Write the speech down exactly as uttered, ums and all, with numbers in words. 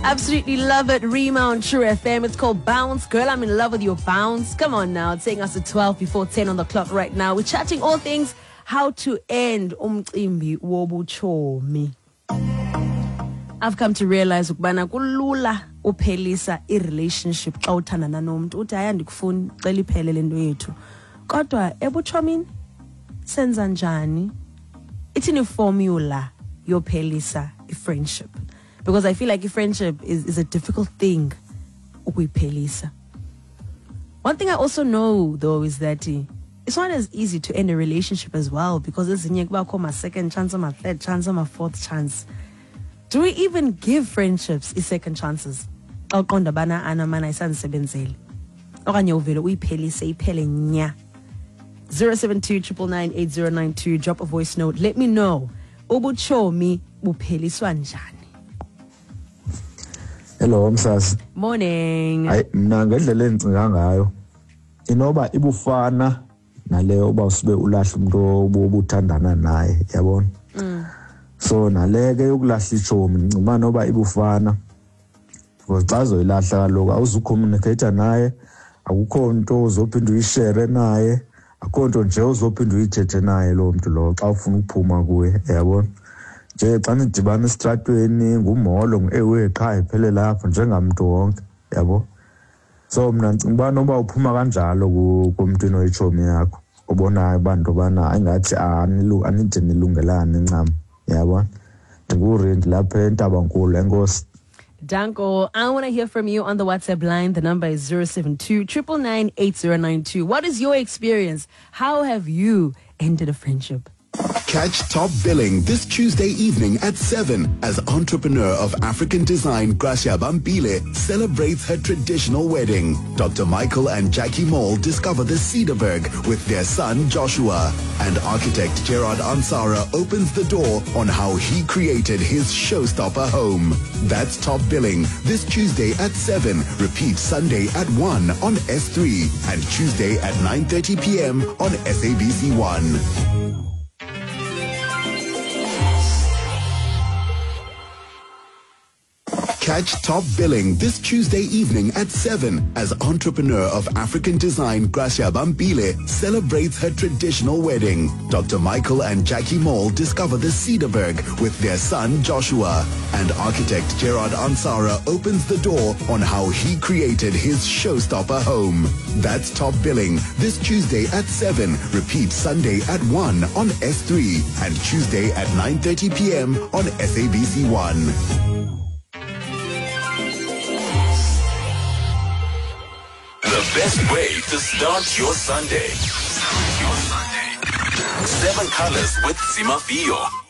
Absolutely love it. Rima on True F M. It's called Bounce. Girl, I'm in love with your bounce. Come on now. It's taking us to twelve before ten on the clock right now. We're chatting all things how to end umcimbi wobuchomi. I've come to realize ukubana kulula uphelisa i-relationship xa uthandana nomntu. Uthi hayi andikufuni, cela iphele le nto yethu. Kodwa ebuchomini senza njani? Ithini formula yophelisa i-friendship? Because I feel like a friendship is, is a difficult thing ukuyiphelisa. One thing I also know though is that it's not as easy to end a relationship as well, because ezinye kubakho ma second chance, ma third chance, ma fourth chance. Do we even give friendships i second chances? Xa uqonda bana ana mana isandisebenzeli. Okanye uvele uyiphelise iphele nya. zero seven two triple nine eight zero nine two. Drop a voice note. Let me know. Ubuchomi bupheliswa njani? Hello msasi. Morning. Hayi mina ngendlela engicinga ngayo inoba ibufana naleyo uba usube ulahla umuntu obuthandana naye, yabona. Mm. So naleke yokulahla ichomi ngicima noba ibufana because xa uzoyilahla kaloku awuzucommunicate naye, akukho nto uzophinda uyishare naye, akukho nto nje uzophinda uyithethe naye lo muntu lo xa ufuna ukuphuma kuye, yabona. Nje xa nidibana esitratweni ngumholo ngu-ewe qha iphele lapho njengamntu wonke, yabo. So mina ngicinga uba noba uphuma kanjalo kumntwini oyichomi yakho obonayo uba nto bana ingathi anide nilungelane ncam, yabona. Ndingurindi lapha eNtabankulu, enkosi. Danko, I want to hear from you on the WhatsApp line. The number is zero seven two triple nine eight zero nine two. What is your experience? How have you ended a friendship? Catch Top Billing this Tuesday evening at seven as entrepreneur of African design Gracia Bambile celebrates her traditional wedding. Doctor Michael and Jackie Mall discover the Cedarberg with their son Joshua. And architect Gerard Ansara opens the door on how he created his showstopper home. That's Top Billing this Tuesday at seven. Repeat Sunday at one on S three and Tuesday at nine thirty p.m. on S A B C one. Catch Top Billing this Tuesday evening at seven as entrepreneur of African design Gracia Bambile celebrates her traditional wedding. Doctor Michael and Jackie Mall discover the Cedarberg with their son Joshua. And architect Gerard Ansara opens the door on how he created his showstopper home. That's Top Billing this Tuesday at seven. Repeat Sunday at one on S three and Tuesday at nine thirty p.m. on S A B C one. The best way to start your Sunday. Your Sunday. Seven Colors with Zimafio.